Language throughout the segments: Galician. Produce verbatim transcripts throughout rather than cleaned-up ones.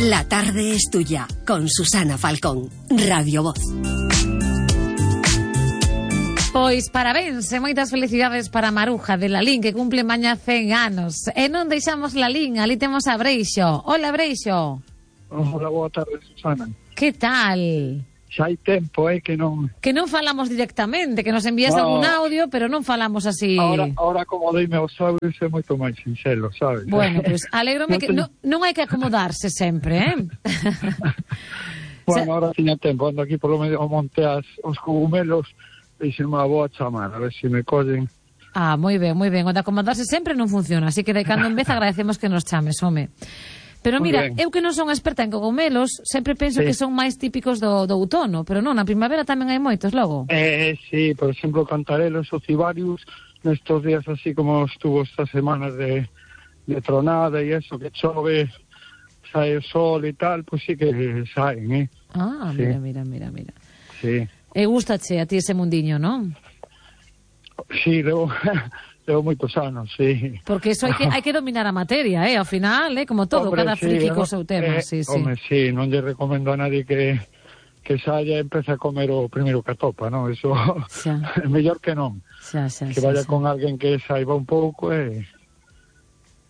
La tarde es tuya, con Susana Falcón, Radio Voz. Pois parabéns e moitas felicidades para Maruja de Lalín, que cumple mañá cen anos. E non deixamos Lalín, ali temos a Breixo. Hola, Breixo. Hola, boa tarde, Susana. Que tal? Xa hai tempo, eh, que non... Que non falamos directamente, que nos envías no. algún audio, pero non falamos así... Ahora, ahora como deime os audios é moito máis sincero, sabes? Bueno, pois pues, alégrome no que... te... No, non hai que acomodarse sempre, eh? Bueno, ahora tiña tempo, ando aquí polo medio, monte as, os cogumelos, e se me vou a chamar, a ver se me collen. Ah, moi ben, moi ben. O de acomodarse sempre non funciona, así que de cando en vez agradecemos que nos chames, home. Pero Muy mira, bien. eu que non son experta en cogumelos, sempre penso sí. que son máis típicos do, do outono, pero non, na primavera tamén hai moitos logo. Eh, sí, por exemplo, cantarelos ou cibarius, nestos días así como estuvo estas semanas de, de tronada e eso, que chove, sae o sol e tal, pues sí que saen, eh. Ah, sí. mira, mira, mira, mira. Sí. E gustache a ti ese mundiño, non? Sí, levo, levo moitos anos, sí. Porque eso hai que, hai que dominar a materia, eh? Ao final, eh? Como todo, hombre, cada sí, friki no, co seu tema, eh, sí, sí. Home, sí, non lle recomendo a nadie que, que saia e empece a comer o primeiro que atopa, non? Eso é mellor que non. Xa, xa, que xa, vaya xa. con alguén que saiba un pouco e...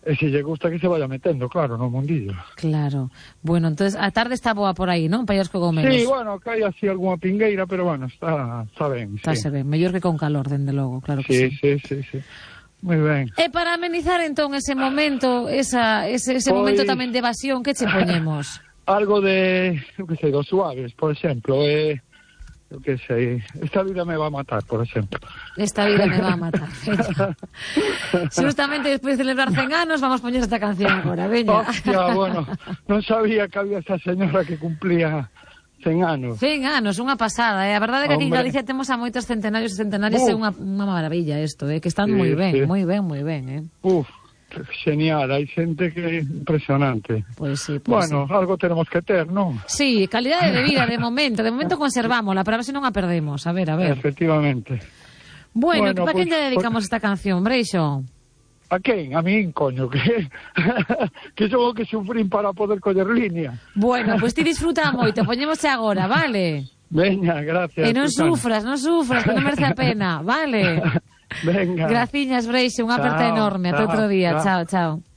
E se lle gusta que se vaya metendo, claro, no mundillo. Claro. Bueno, entonces a tarde está boa por aí, non? Para os cogomelos. Sí, bueno, que hai así algunha pingueira, pero bueno, está, está ben. Está sí. se ben, mellor que con calor, dende logo, claro que sí. Sí, sí, sí, sí. Moi ben. E para amenizar entón ese momento, esa, ese, ese Pois... momento tamén de evasión, que che poñemos? Algo de, eu que sei, dos suaves, por exemplo, eh, eu que sei, esta vida me va a matar, por exemplo. Esta vida me va a matar. Justamente despois de celebrar cen anos, vamos poñer esta canción agora, veña. Hostia, bueno, non sabía que había esa señora que cumplía cen anos. cen anos, unha pasada, eh? A verdade é que aquí en Hombre. Galicia temos a moitos centenarios e centenarias, é Uf. unha, unha maravilla isto, eh? Que están Sí, moi ben, sí. moi ben, moi ben, eh? Uf, genial, hai xente que é impresionante. Pois sí, pois Bueno, sí. algo tenemos que ter, non? Sí, calidade de vida de momento, de momento conservámola, para ver se non a perdemos, a ver, a ver. Efectivamente. Bueno, Bueno, para quen pues, lle dedicamos esta canción, Breixo? A quen? A min, coño, que que son o que sufrín para poder coller línea. Bueno, pois pues ti disfruta moito, poñémosche agora, vale? Veña, gracias. E non Susana. sufras, non sufras, que non merece a pena, vale? Venga. Graciñas, Breixo, unha aperta Chao, enorme, ata chao, outro día, chao. chao, chao.